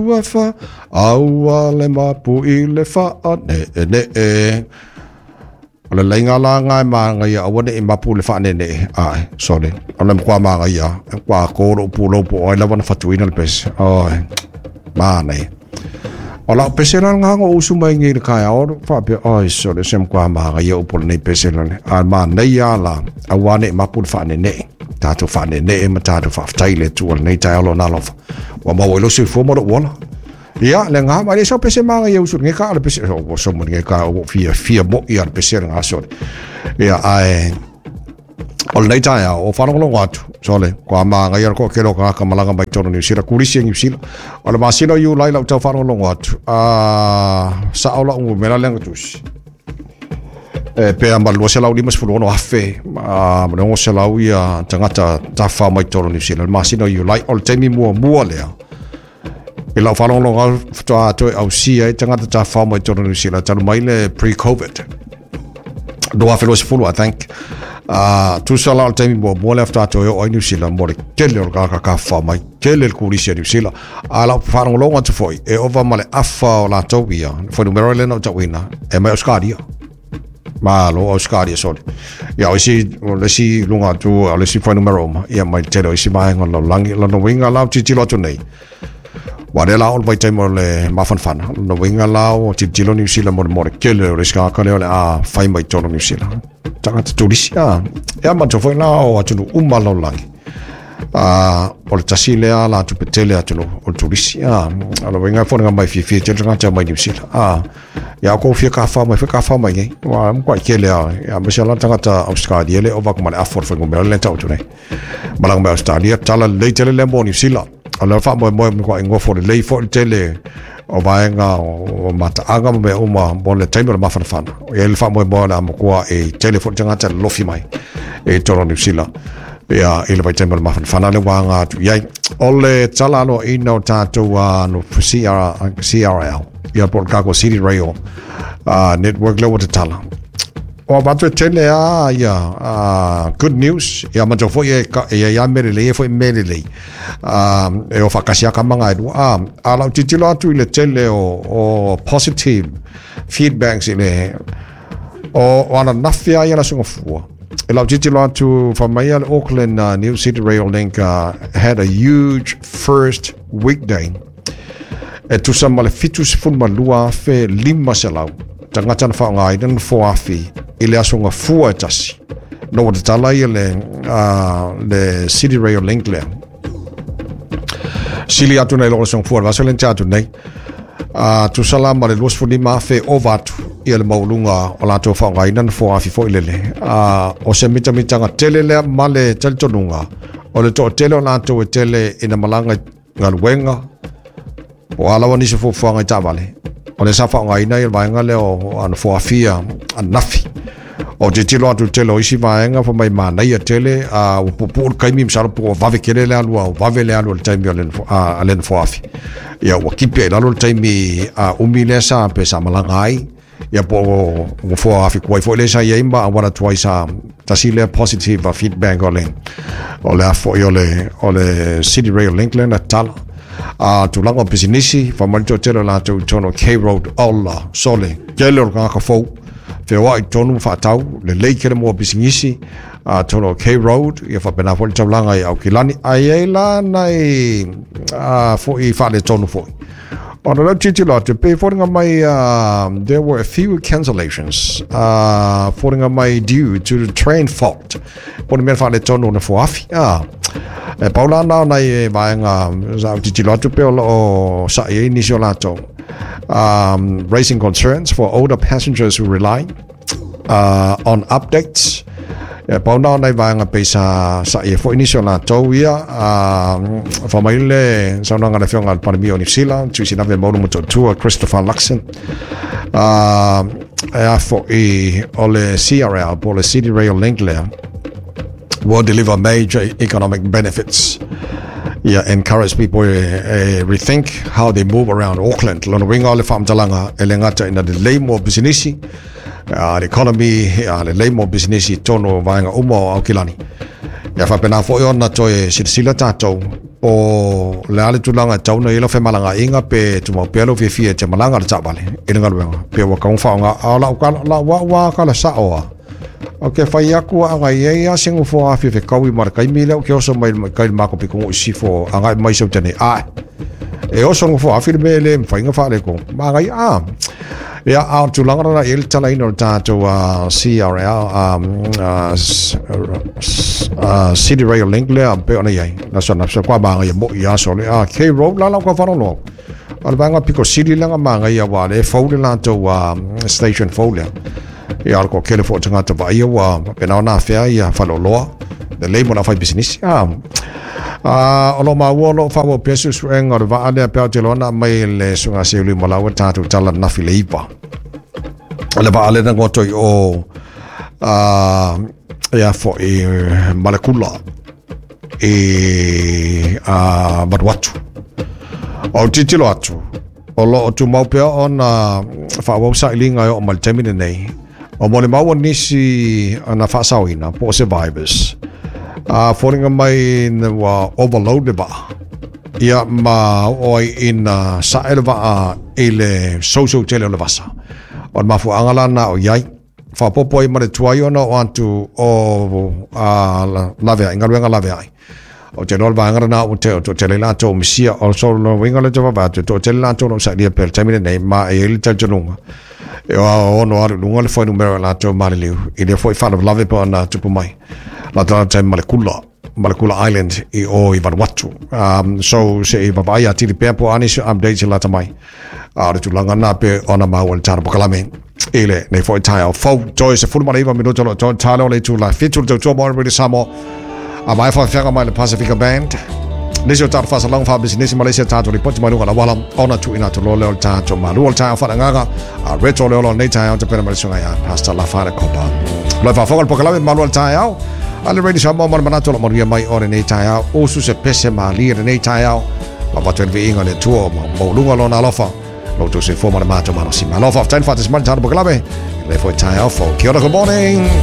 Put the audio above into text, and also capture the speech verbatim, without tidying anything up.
lua fa, aua le mapu i le faane'ene'e. O le laiga la ga e magaia aua ne'i mapu le faane'ene'e ae sole o le matua magaia e matua to lo'u pulou po o ai lava na fatuina le pese oi manaia. O la'u pese la lena na ou usu mai nei i le taeao faapea oi sole se matua magaia upu o lenei pese lale a manaia la aua ne'i mapu le faane'ene'e tatou faane'ene'e ma tatou faafetai i le Atua i lenei taeao lona alofa ua maua ai lou soifua ma lou ola. Ia, le ngā mai le sau pese manga ia usu nge ka le pese o so mo nge ka o fia fia mo ia le pese ngā sole. Ia ai o le nei taeao o faalogologo atu sole kua magaia le toatele o tagata malaga mai totonu o Niu Sila turisi e Niu Sila o le masina o Iulai lau tau faalogologo atu a sao lau numera lea na tusi e pea ma le lua selau lima sefulu ono afe ma le ono selau ia tagata tafafao mai totonu o Niu Sila le masina o Iulai o le taimi muamua lea i lau faalogologo atu faatoa toe ausia ai tagata tafafao mai totonu o Niu Sila talu mai le pre-COVID lua afe luasefulu I think. Uh, tusa la o le taimi muamua lea faatoa toe oo ai Niu Sila mo le tele o le tagata tafafao mai, tele le turisi a Niu Sila. A lau faalogologo atu foi, e ova ma le afa o latou ia, le fuainumera lea na ou tauina, e mai Australia. Malo Australia sole. Ia o isi, o le isi luga atu, o le isi fuainumera uma, ia mai le tele o isi vaega o le lalolagi. Lona uiga la o tilotilo atu nei, Ua lea la o le vaitaimi o le mafanafana, lona uiga la ua tilotilo Niu Sila mo le mo le tele o le isi tagata lea o le a fai mai totonu o Niu Sila. Tagata turisi, a. Ia manatua foi la o atunuu uma o le lalolagi. A, o le tasi lea alatupe tele atunuu o le turisi, a. O le uiga e foliga mai fiafia tele tagata mai Niu Sila, a. Ia kou fia tafafao mai foi tafafao mai nei. Ua matuai tele lava, aemaise lava tagata Ausetalia le ova atu ma le afa o le fuainumera lea e tau atu nei. Malaga mai Ausetalia, tala lelei tele lea mo Niu Sila. O le faamoemoe matuai nofo lelei foi le tele o vaega o mataaga ma mea uma mo le taimi o le mafanafana. E i ai le faamoemoe o le a matua e tele foi le tagata e lolofi mai i totonu o Niu Sila ia i le vaitaimi o le mafanafana le ua aga atu i ai. O le tala aloaina o tatou uh, no C R, C R L, ia po o le Cargo City Rail uh, Network lea ua tatala. O avatu e tele a ia uh, good news ia manatua foi e ka, e ia mea lelei e foi mea lelei. Uh, e o faakasi a kamaga e lua. A, a lau tilotilo atu i le tele o, o positive feedbacks i le o, o ananafi a ia le aso gafua. E lau tilotilo atu fa mai ia le Auckland uh, New City Rail Link uh, had a huge first weekday. E tusa ma le fitu sefulu ma lua afe lima selau tagata na faaaogaina na foafi i le aso gafua e tasi. No ua tatala ia le, uh, le City Rail Link lea. Sili atu nei lo le aso gafua, le vasa le atu nei. Uh, tusa la ma le lua sefulu lima afe ova atu ia le maualuga o latou faaaogaina na foafi foi lele. Uh, o se mitamitaga tele lea ma le talitonuga o le toatele o latou e tele ina malaga i galuega po o a lava nisi o fuafuaga i taavale. O le sa faaaogaina ia le vaega lea o ana foafia ananafi. O tilotilo atu i le tele o isi vaega fa mai manaia tele a ua puupuu le taimi masalo po ua vave tele le alu a ua vave le alu o le taimi o le a le nofoafi. Ia ua kipi ai i lalo le taimi a umi lea sa pe sa malaga ai. Ia po o ua foafi tuai foi lea sa i ai ma auala tuai sa tasi lea positive feedback o le o le a foi o le o le City Rail Link lea na tatala. A tulaga o pisinisi, fa mai le toatele o latou i totonu o K Road ola sole tele o le tagata fou feoai i totonu ma faatau lelei tele mo pisinisi a totonu o K Road ia faapena foi le taulaga i Aukilani ae i ai la nai a, foi faaletonu foi. Ona lea tilotilo atu e pei foliga mai uh, there were a few cancellations uh, foliga mai due to the train fault. Po o le mea faaletonu o le foafi. Ah, e pau la na o nai e vaega sa ou tilotilo atu pe o loo sa'i ai nisi o latou. Um, raising concerns for older passengers who rely uh, on updates. E pau na o nai vaega pei sa sa'i ai foi nisi o latou ia. Uh, fa mai le saunoaga a le Afioga i le Palemia o Niu Sila, Tuisinave Maulu Motootua, Christopher Luxon. Uh, e a foi o le C R L, po o le City Rail Link lea, will deliver major economic benefits. Yeah, encourage people e, e rethink how they move around Auckland. Lona uiga o le faamatalaga e le gata ina lelei mo pisinisi, uh, le economy, uh, lelei mo pisinisi i totonu o vaega uma o Aukilani. Ia faapena foi ona toe silasila tatou po o le a le tulaga e tatau ona i ai lau femalagaaiga pe tumau pea lou fiafia e te malaga i le taavale i le galuega pe ua tatau ona faaaoga. A o lau lau au lava tala sao lava, ou te fai atu a i ai lava se nofoa fia fetaui ma le taimi lea ou te oso mai kai le matou pitonuu i sisifo agai mai Sauta nei. Ae e oso le nofoa afi le mea e le mafai ona faaletonu. Manaia a. Ia, a o le tulaga lena i ai le talaina o le tatou C R L, um, uh, uh, City Rail Link lea pe ona i ai. Na so na so kwa manaia mo i aso le a K Road la la kwa wharoloa. O le vaega piko sili lea manaia wa le fou le latou station fou lea. Ia o le toatele foi o tagata vaaia ua faapena ona afea ia faleoloa lelei mo le aufai pisinisi. Ah, o lo o maua o lo o faaauau pea suesuega o le vaa lea pe a ou te iloa na aumai e le suiga seuli ma laua tatou tala ananafi le iva. O le vaa lea na goto i o ia foi Malekula i Vanuatu. O tilotilo atu, o lo o tumau pea ona faaauau sailiga e oo mai le taimi lenei. O molimau o nisi na faasaoina po o survivors. A foliga mai ua overload le vaa. Ia ma oo ai ina sae le vaa i le sousou tele o le vasa. O le mafuaaga la na o i ai. Faapopo ai ma le tuai ona oo atu o laveai, galuega laveai. O te iloa le vaega lena ua toatele ai latou o misia. O so lona uiga lea te vaavaai atu, e toatele latou o lo o sailia pea i le taimi lenei, ma e i ai le talitonuga e ono alu i luga le fuainumera o latou maliliu i lea foi faalavelave pe ona tupu mai. Latou latou taimi Malekula, Malekula Island i o i Vanuatu. Um, so se i vaavaai atili pea po o a nisi updates i lata mai. A o le tulaga lena pe ona maua i le tatou polokalame i lenei foi taeao fou. Toe sefulu ma le iva minuta o lo o toe talo le itula fitu le tautua mo Radio Samoa. A mai faafeaga mai le Pasifika Band. Nisi o tatou faasalaga faapisinisi ma le isi a tatou lipoti mai luga o le auala ona tuuina atu loa lea o le tatou malu o le taeao faaleagaga a Reto le ola o lenei taeao tapena mai le susuga ia Pastor Lafale Kopa. Lo e faafofoga le polokalame malu o le taeao a le Radio Samoa ma le manatu o lo manuia mai o lenei taeao. Usu se pese malie lenei taeao ma avatu ai le viiga o le Atua ma maualuga lona alofa lo outou soifua ma le matou malosi. Malo faafetai le faatasi mai le tatou polokalame i lenei foi taeao fou. Kia ora, good morning.